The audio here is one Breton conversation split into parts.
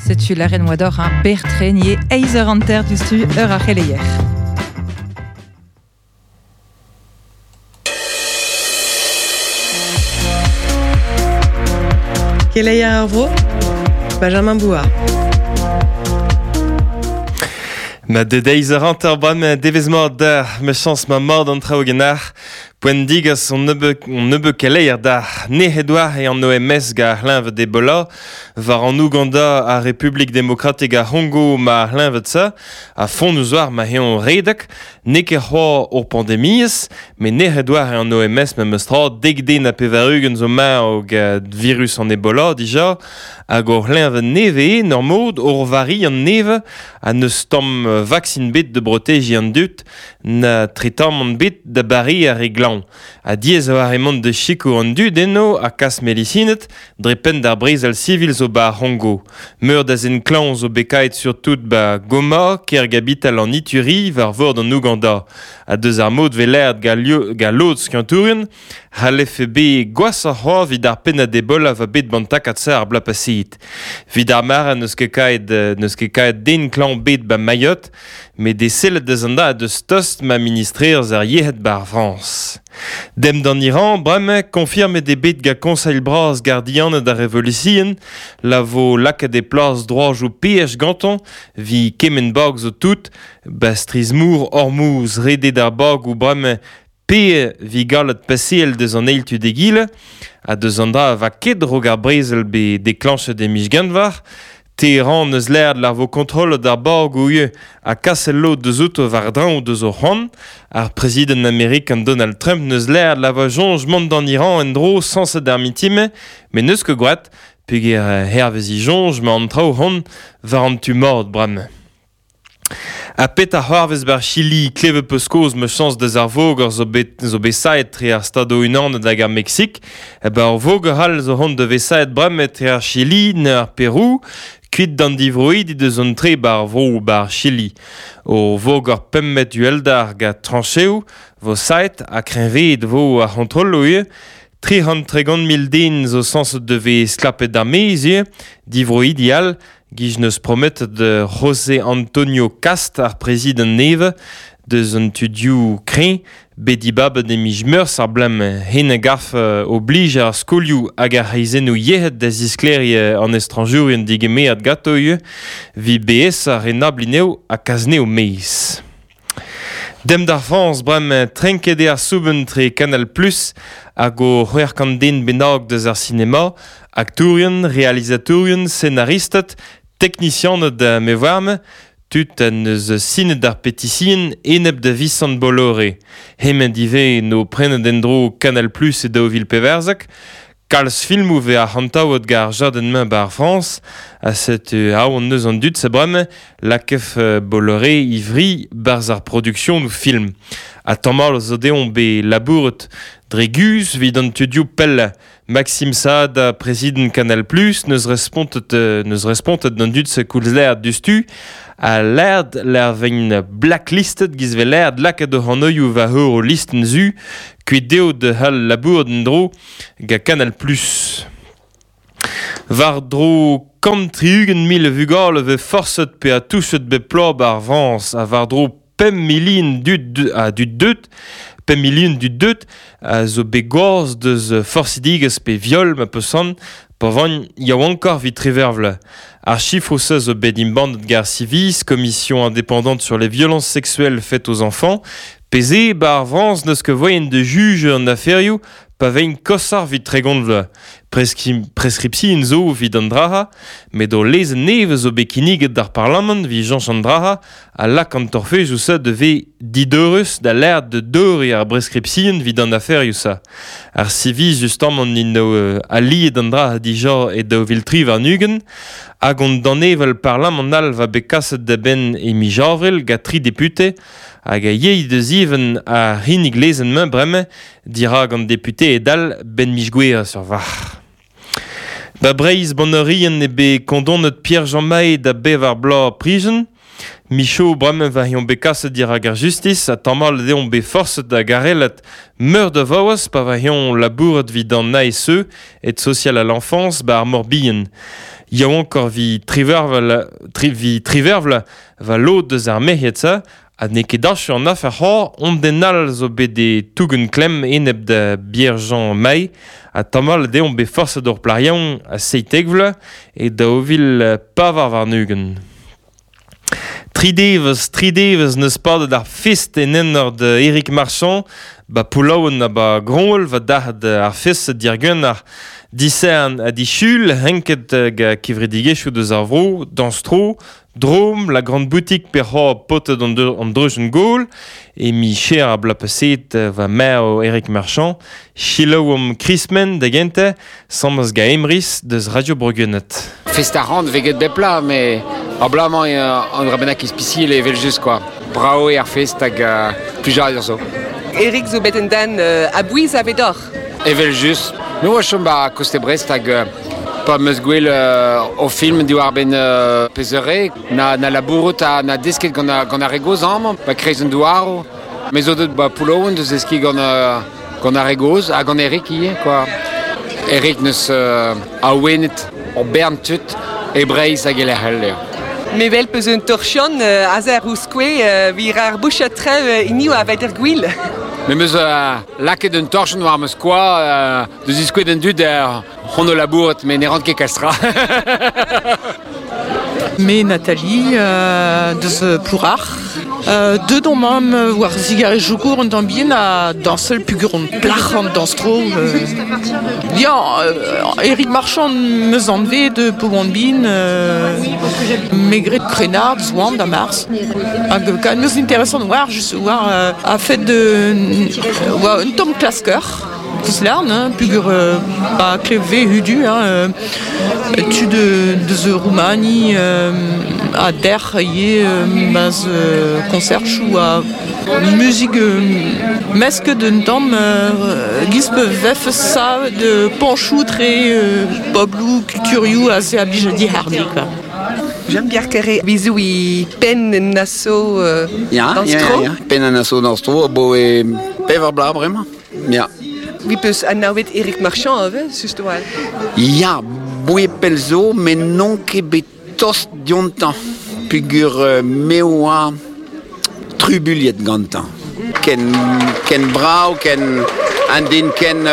Setu lâret 'moa deoc'h hein, berr-tre nie eizh eur hanter diouzhtu eur ar c'heleier. Keleier ar vro, Benjamin Bouard. Ma de deiz a ranter bremañ devezh mat deoc'h, ma chañs ma mat an traoù ganeoc'h. Poent digas on nebeut, on nebeut keleier deoc'h. Nec'het oa e an OMS gant ar c'hleñved Ebola. War an Ouganda ar Republik Demokratek ar C'hongo ma ar c'hleñved-se, ha fonnus war ma eñ redek. N'eo ket c'hoazh ur pandemiezh, met nec'het oa an OMS memes tra, dek den ha 80 zo marv gant virus an Ebola dija, hag ur c'hleñved nevez, en ur mod, ur variant nevez, ha n'eus tamm vaksin bet da brotejiñ an dud, na tretamant bet da bareañ ar re glañv. Ha diaes e oa mont da sikour an dud eno ha kas medisined dre penn d'ar brezel sivil zo 'ba ar C'hongo. Meur da zen klañv zo bet kaet surtout 'ba Goma, kêr gabital an Ituri, war vord an Ouganda. Ha deus ar mod 'vez lâret gant lod skiantourien c'hallefe bet gwashoc'h c'hoazh evit ar pennad Ebola 'va bet 'ban takad-se ar bloaz paseet. Evit ar mare n'eus ket kaet n'eus ket kaet den klañv bet 'ba Mayotte, met e sellet deus an dra deus tost ma ministrerezh ar yec'hed 'ba ar Frañs. Demp d'an Iran bremañ, konfirmet eo bet gant Konseil bras gardianed ar Revolution la vo lakaet e plas droajoù peaj gantañ 'vit kement bag zo tout, 'ba strizh-mor Hormuz redet ar bagoù bremañ pe 'vit gallet paseal deus an eil tu d'egile ha deus an dra 'va ket 'raok ar brezel bet deklañchet e miz Genver. Teheran eus lâret lar vo kontrollet ar bagoù ivez ha kaset lod deus outo war-dreñv deus o c'hoant. Ar prezidant amerikan Donald Trump neus lâret la vo soñj mont d'an Iran en-dro sañset ar mintin-mañ, met n'eus ket gwraet peogwir hervez e soñj 'mañ an traoù 'hont war an tu mat bremañ. Ha petra c'hoarvez 'bar Chili? Klevet 'peus kaoz ma chañs deus ar voger zo bet zo bet saet tre ar Stadoù-Unanet hag ar Meksik. Ba ur voger all zo c'hoant da vezañ saet bremañ etre ar Chili na ar Perou, kuit d'an divroidi deus an tre 'bar vro 'bar Chili. Ur voger pemp metr uhelder gant trañcheoù 'vo saet ha kreñveet 'vo ar c'hontrolloù ivez. 330 000 den zo sañset da vezañ stlapet d'ar maez ivez, divroidi all Giz 'neus prometet José Antonio Kast, ar prezidant nevez, deus an tudioù kreñv, bet dibabet e miz Meurzh ar blem hen a garf oblij ar skolioù hag ar c'hreizennoù yec'hed da zisklêriañ an estrañjourien degemeret ganto ivez 'vit BS ar renabliñ eo ha kas 'nezho maez. Demp d'ar Frañs bremañ, trenket eo ar soubenn tre Canal Plus hag o 600 den bennak deus ar sinema, aktourien, realizatourien, senaristed, teknisianed me 'oar-me, tud en deus sinet ar petision enep da Visant Bolloré. Hemañ ivez 'no prenet en-dro Canal Plus e 2014. Kalz filmoù 'vez arc'hantaouet gant ar jadenn-mañ 'ba ar Frañs ha setu aon 'neus an dud-se bremañ lakef Bolloré ivri 'barzh ar produksionoù film. Ha tamall zo dezhoñ bet labouret dre guzh 'vit an tudioù pellañ. Maxime Saada, prezidant Canal Plus, 'neus respontet 'neus respontet d'an dud-se koulz lâret diouzhtu ha lâret lec'h 'vegn blacklistet 'giz 'vez lâret lakaet o hanvioù war ur listenn zu kuit dezho da c'hall labourat en-dro Gant Canal Plus. War-dro 160 000 vugale 'vez forset pe touchet bep bloaz 'ba ar Frañs ha war-dro 5 milion dud a dud deut 5 milion dud deut a zo bet gwazh deus forsidigezh pe viol ma peus c'hoant pa van yaouankoc'h 'vit triwec'h vloaz. Ar sifroù-se zo bet embannet gant ar Civis, Commission indépendante sur les violences sexuelles faites aux enfants, pe se 'ba ar Frañs n'eus ket voaien da jujañ an aferioù Pa veint koshoc'h 'vit 30 vloaz, preskripsion zo evit an dra-ha, met ul lezenn nevez zo bet kinniget d'ar Parlamant evit cheñch an dra-ha a lak an torfedoù-se da vezañ dideurus da lâret da deuriñ ar breskripsion evit an aferioù-se. Ar siviz justamant int aliet an dra-ha dija e 2023 hag an danevell parlamant all va bet kaset da benn e miz Avril gant tri depute hag a yey da zivenn ar c'hinnig lezenn-mañ bremañ dirak an deputeed all 'benn miz Gouere sur varc'h. Ba Breizh Bannerien eo bet kondonet Pierre-Jean Maé da bevar bloaz prijen. Michaud bremañ va eomp bet kaset dirak ar justis ha tamallet eomp bet forset da garellat meur da vaouez pa va eomp labourat 'vit an ASE, aide sociale à l'enfance, 'ba ar Morbihan. Yaouankoc'h vi trivervel, tri, vi trivervl va lod deus ar merc'hed-se ha n'eo ket achu an afer c'hoazh, on den all zo bet e tougen klemm enep da Pierre-Jean May ha tamall deomp bet forset ur plac'h yaouank a 17 vloaz e 2024. Tri devezh, tri devezh n'eus padet ar fest en enor da Eric Marchand, ba Poullaouen ha ba Groñwel va dac'het ar fest diàr-gwenn Disern ha disul, renket ga kevredigezhioù deus ar vro, dañs-tro, Drôme, la grande boutique pe c'hoazh paotred an, an dreujenn gaol, e miz cher ar bloaz paseet va marv Eric Marchand, selaouomp Krismen da gentañ, samas ga Emrys deus Radio Bro-Gwened. Fest ar ran vez get bep plat, mais abalamour an dra bennak ispisial evel-just quoi. Bravo eo ar fest hag plijadur zo. Eric zo bet un den a-bouez avedoc'h. Evel-just. Me oa chom ba koste Brest hag pa 'm eus gwel o film diwar-benn peseurt na, na labourout ha na desket gant, gant ar re gozh amañ, ba kreiz an douaroù. Me zo deut ba Poullaouen da zeskiñ gant, gant ar re gozh ha gant Eric ivez quoi. Eric neus awenet ur bern tud e Breizh hag e lec'h all eo. Me wel peus un torchion aze ar Rouskoe wir ar bouchat trev hiniv a vet er gwil. Me 'm eus lakaet un torchenn war ma skoaz da ziskouez d'an dud hon o labourat, met ne ran ket kalz tra. Me Nathalie deus Plourac'h. Deut on mamm war zigarezioù an tamm bihan ha dañsal peogwir on plac'h an dañs-tro. Ya, Eric Marchand 'meus anvet p'oan bihan me gred krennard 'zoan da Mars. Hag neus interesant war just war a-fet war un tamm klasker. Koulz hein, peogwir ba klevve hudu hein, tud deus Roumani ha derc'h ivez ma'z konsertoù ha muzik mesket un tamm giz vefe savet pañchoù tre pobloù kulturioù aze a blij dihardiñ quoi. Jean-Pierre Carré, bizou i penn en aso Ya, dans ya, tro. ya, penn an aso dans tro, bo e pevar bloaz bremañ. Ya. Vi peus anavet Eric Marchand ivez, just a-walc'h. Ya, boe pell zo, met n'on ket bet tost diontañ peogwir me oa trubuilhet gantañ. Ken, ken brav, ken un den ken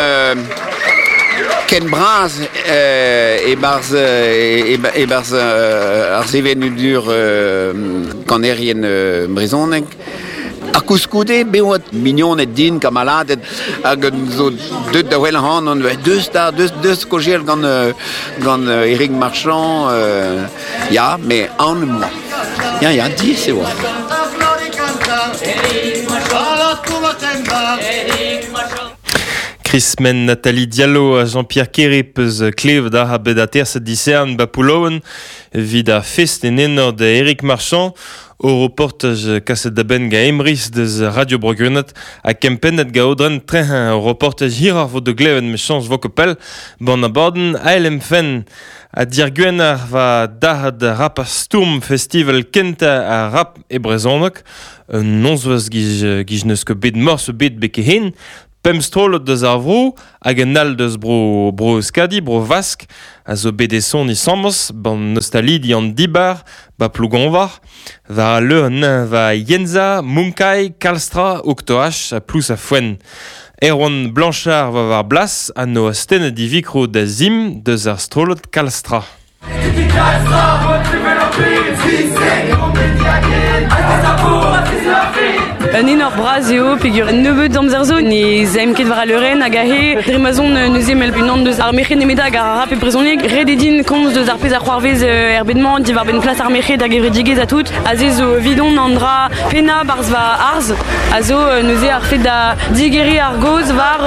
ken bras e-barzh e-barzh ar sevenadur kanerien brezhoneg. Ha koulskoude, bet oa mignoned din, kamaladed, hag zo deuet da wel ac'hanon, deus da, deus, deus kaozeal gant, gant Eric Marchand, ya, mais aon em boa. Ya, ya, diaes e oa. Krismen Nathalie Diallo ha Jean-Pierre Kere peus klevet ha bet aterset disern ba Poullaouen evit ar fest en enor da Eric Marchand. O reportaj kaset da benn ga Emrys deus Radio Bro-Gwened ha kempennet ga Aodren Trehin. Ur reportaj hiroc'h vo da glevet mechañs vo ket pell ban abadenn ALM-Fenn. Ha diàr va dac'had rap ha stourm festival kentañ ar rap e brezhoneg. Un nozvezh giz, giz n'eus ket bet morse bet beke-hen. Pemp strollad deus ar vro hag un all deus bro, bro Euskadi, bro Vask, a zo bet e soniñ sambos ban nostalidi an dibar ba Plougonvar, war al leur va Yenza, Munkai, Kalstra, Oktoach ha Plous ha Foenn. Erwan Blanchard va war blas ha no astennet e vikro da zim deus ar strollad Kalstra. Un enor bras eo peogwir nebeut amzer zo ne zaemp ket war al leurenn hag aze dre ma zon neuze mell unan deus ar merc'hed nemet hag ar rap e brezhoneg ret eo din komz deus ar pezh a c'hoarvez er bed-mañ diwar-benn plas ar merc'hed hag gevredigezh ha tout aze zo evidon an dra pennañ 'barzh va arz a zo neuze ar fed da digeriñ ar gaoz war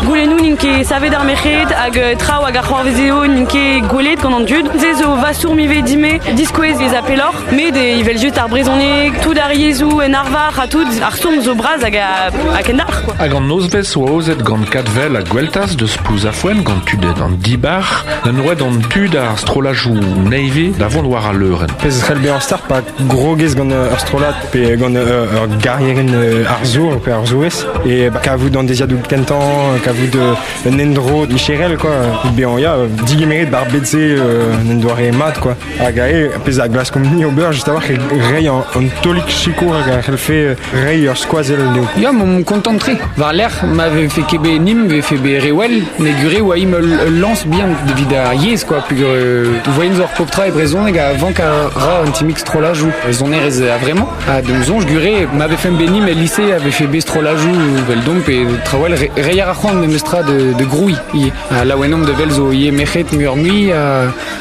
goulennoù n'int ket savet ar merc'hed hag traoù hag a c'hoarvezeo n'int ket gwelet gant an dud. Se zo va stourm ivez dime diskouez ez a pelloc'h, met evel-just ar brezhoneg, tout ar yezhoù en arvar ha tout. Ar stourm zo braz hag a kendalc'h quoi. Hag an nozvez oa ozet gant Kadvel a Gweltaz deus Plouzafouen gant tudet an dibar, na oet an tud ar strolajou neive da vont war a leuren. Pez c'hell bezañ start pa grogez gant ur strollad pe gant ur garrieren ar zour pe ar zouez e kavout an deziadoù kentañ, kavout un endro micherel quoi. Bezañ ya digemeret bar bet-se un doare mat quoi. Hag ae pezh a glaskomp ni ober just a-walc'h reiñ an tolik sikour hag a c'hellfe reiñ ur skoazell dezho. Ya, m'on kontant tre. War lec'h ma vefe ket bet nim, vefe bet rewell, ne gure oa im ul lañs bihan evit ar yezh quoi, pugur voyen zo ar pop tra e brezhoneg a vank a ra un timik strollajou sonerezh a vremañ. Ha d'am soñj gure ma vefe bet nim el lycée a vefe bet strollajou vel domp pe trawell reiñ ar c'hoant memes tra de grouiñ. Ha laouenomp de vel zo ie mec'het muioc'h mui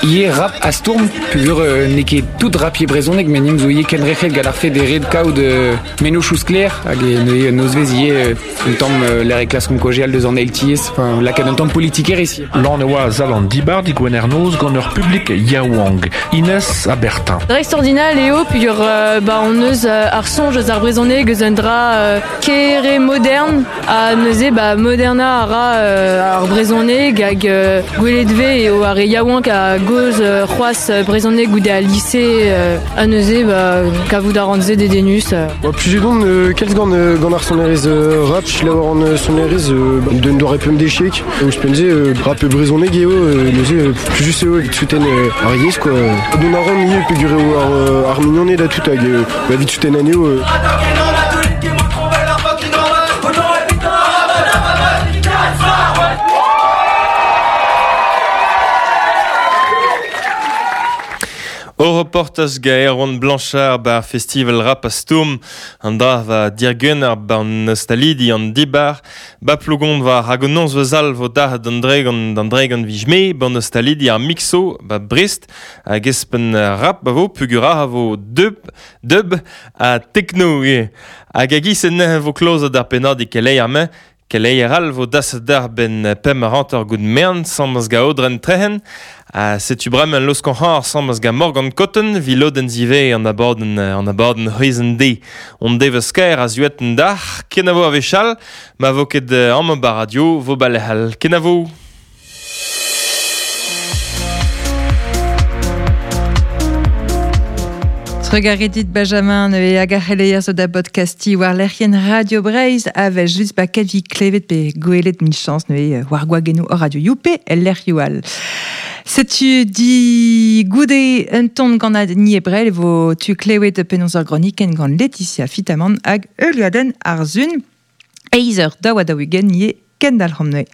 ie rap a stourm pugur n'eo ket tout rap ie brezhoneg met nim zo ie kenrec'het gant ar fed e red kaout mennozhioù sklaer hag e nozvez ie un tamm l'air e klaskomp kojeal deus an LTS, enfin lakaat un tamm politikerezh. Lan e oa zal an dibar digwener noz gant ur publik yaouank, Inès ha Bertin. Dreist-ordinal eo pugur ba on eus ar soñj eus ar brezhoneg eus un dra kere modern ha neuze ba moderna a ra ar brezhoneg hag gwelet ve eo ar re yaouank a goz c'hoazh brezhoneg goude al lycée ha neuze ba kavout a ran se dedennus. Ba plus don kalz gant gant ar sonerezh rap, selaou an sonerezh d'un doare pemp dechek ouzhpenn-se rap brezhoneg eo neuze plus just eo evit souten ar yezh quoi. Dont a ran ivez peogwir eo ar mignoned ha tout hag ba evit souten anezho. O reportaj ga Erwan Blanchard bar festival rap a stourm an dra va dirguen ar ban nostalidi an dibar ba plougon war hag an nonz vezal vo da d'an dregan vijme ban nostalidi ar mixo ba Brest hag espen rap ba vo pugura a vo dub a techno e hag agis en vo klozet ar pennad e keleier me Keleier all vo das d'ar ben pem ar hanter gout mern samaz ga odren trehen. Ha setu bremañ laosk an c'har samaz ga Morgan Cotton vi lodenn zive an abadenn c'hwezenn de. On devez kaer a zuet an dac'h, kenavo a wechall, ma vo ket amañ ba radio vo balehal. Kenavo! Trugaredit Benjamin neuze hag ar c'heleier zo da podcasti war lec'hienn Radio Breizh a vel just ba kavi klevet pe gwelet min chañs neuze war gwagennoù hor radio youpe el lec'hioù all. Setu di goude un ton gant ad ni ebrel vo tu klevet penaos ur gronikenn gant Laetitia Fitamant hag Euliaden Arzun. Eizer daou ha daou-ugent ie kendalc'homp neuze.